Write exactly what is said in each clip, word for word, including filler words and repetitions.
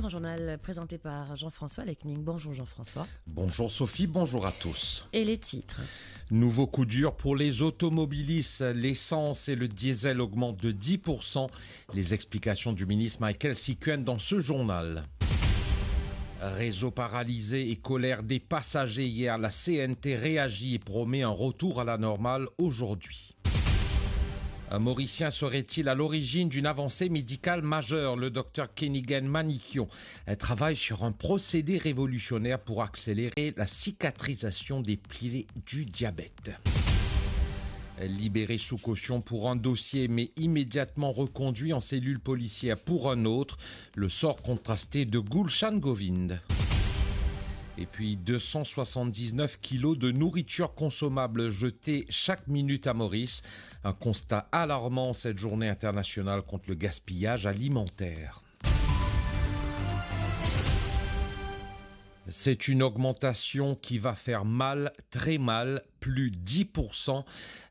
Journal présenté par Jean-François Lecning. Bonjour Jean-François. Bonjour Sophie, bonjour à tous. Et les titres. Nouveau coup dur pour les automobilistes. L'essence et le diesel augmentent de dix pour cent. Les explications du ministre Michaël Sikuen dans ce journal. Réseau paralysé et colère des passagers hier, la C N T réagit et promet un retour à la normale aujourd'hui. Un Mauricien serait-il à l'origine d'une avancée médicale majeure ? Le docteur Kenigen Manickion travaille sur un procédé révolutionnaire pour accélérer la cicatrisation des plaies du diabète. Libéré sous caution pour un dossier, mais immédiatement reconduit en cellule policière pour un autre, le sort contrasté de Gulshan Govind. Et puis deux cent soixante-dix-neuf kilos de nourriture consommable jetée chaque minute à Maurice. Un constat alarmant cette journée internationale contre le gaspillage alimentaire. C'est une augmentation qui va faire mal, très mal, plus dix pour cent.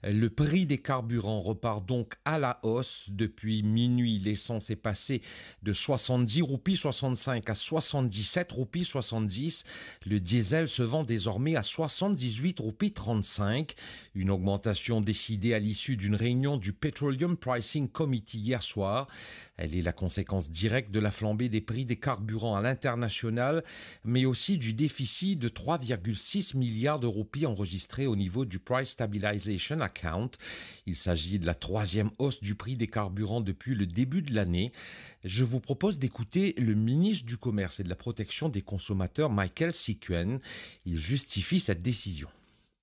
Le prix des carburants repart donc à la hausse. Depuis minuit, l'essence est passée de soixante-dix roupies soixante-cinq à soixante-dix-sept roupies soixante-dix. Le diesel se vend désormais à soixante-dix-huit roupies trente-cinq. Une augmentation décidée à l'issue d'une réunion du Petroleum Pricing Committee hier soir. Elle est la conséquence directe de la flambée des prix des carburants à l'international, mais aussi du déficit de trois virgule six milliards de roupies enregistré au niveau du Price Stabilization Account. Il s'agit de la troisième hausse du prix des carburants depuis le début de l'année. Je vous propose d'écouter le ministre du Commerce et de la Protection des Consommateurs, Michaël Sikuen. Il justifie cette décision.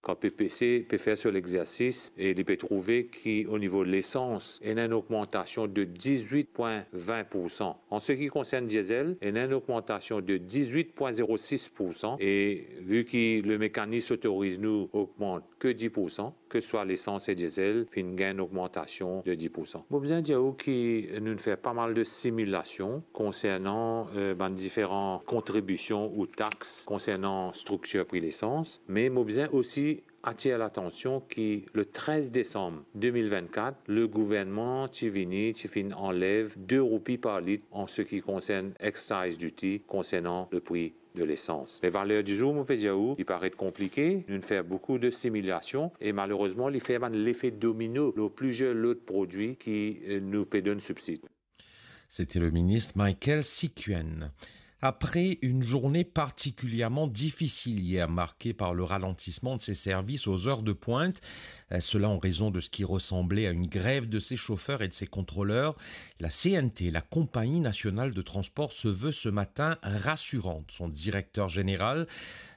Kan P P C pe fer so lexersis e li pe trouve ki o nivo lesans, ena enn ogmantasion de diz-wit pwin vin pour san. An seki konsern diesel, ena enn ogmantasion de diz-wit pwin zero sis pour san e vi ki le mekanis otoriz nou ogmant ke dis pour san, ke swa lesans e diesel, finn gagn enn ogmantasion de dis pour san. Mo bizin dir ou ki nou'nn fer pa mal de similasion konsernan, eh, bann diferan kontribision ou tax konsernan striktir pri lesans, me mo bizin osi atir latansion ki le trez desam de mil vinn-kat, le gouvernman ti vini, ti finn anlev de roupi par lit an seki konsern excise duty konsernan le pri de lesans. Me valer dizour, mo pe dir ou, li paret konplike, nou'nn fer boukou de similasion e malerezman, li fer bann lefe domino lor plizier lot prodwi ki, eh, nou pe donn sibsid. C'était le ministre Michaël Sikuen. Après une journée particulièrement difficile hier, marquée par le ralentissement de ses services aux heures de pointe, euh, cela en raison de ce qui ressemblait à une grève de ses chauffeurs et de ses contrôleurs, la C N T, la Compagnie nationale de transport, se veut ce matin rassurante. Son directeur général,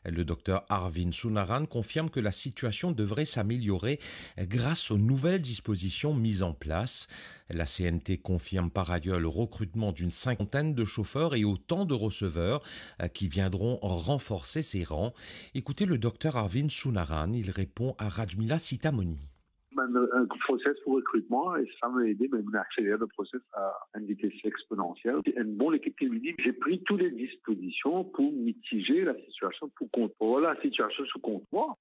le docteur Arvind Sounarayan, confirme que la situation devrait s'améliorer grâce aux nouvelles dispositions mises en place. La C N T confirme par ailleurs le recrutement d'une cinquantaine de chauffeurs et autant de receveurs, euh, qui viendront renforcer ses rangs. Écoutez le docteur Arvind Sounarayan, il répond à Rajmila Sitamoni. Ben, un process pour recrutement, et ça m'a aidé, mais on accélère le process à une vitesse exponentielle. C'est une bonne équipe qui me dit, j'ai pris toutes les dispositions pour mitiger la situation, pour contrôler la situation sous contrôle.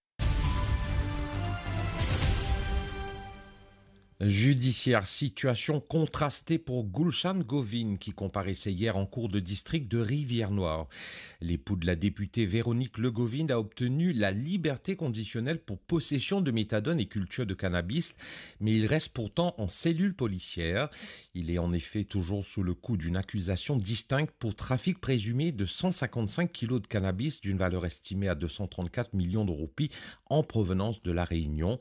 Judiciaire, situation contrastée pour Gulshan Govind, qui comparaissait hier en cour de district de Rivière-Noire. L'époux de la députée Véronique Le Govind a obtenu la liberté conditionnelle pour possession de méthadone et culture de cannabis, mais il reste pourtant en cellule policière. Il est en effet toujours sous le coup d'une accusation distincte pour trafic présumé de cent cinquante-cinq kilos de cannabis d'une valeur estimée à deux cent trente-quatre millions de roupies en provenance de La Réunion.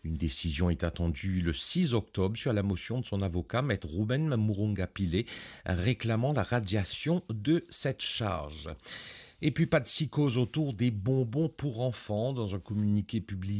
Une décision est attendue le six octobre sur la motion de son avocat, Maître Ruben Murunga Pillay, réclamant la radiation de cette charge. Et puis, pas de psychose autour des bonbons pour enfants. Dans un communiqué publié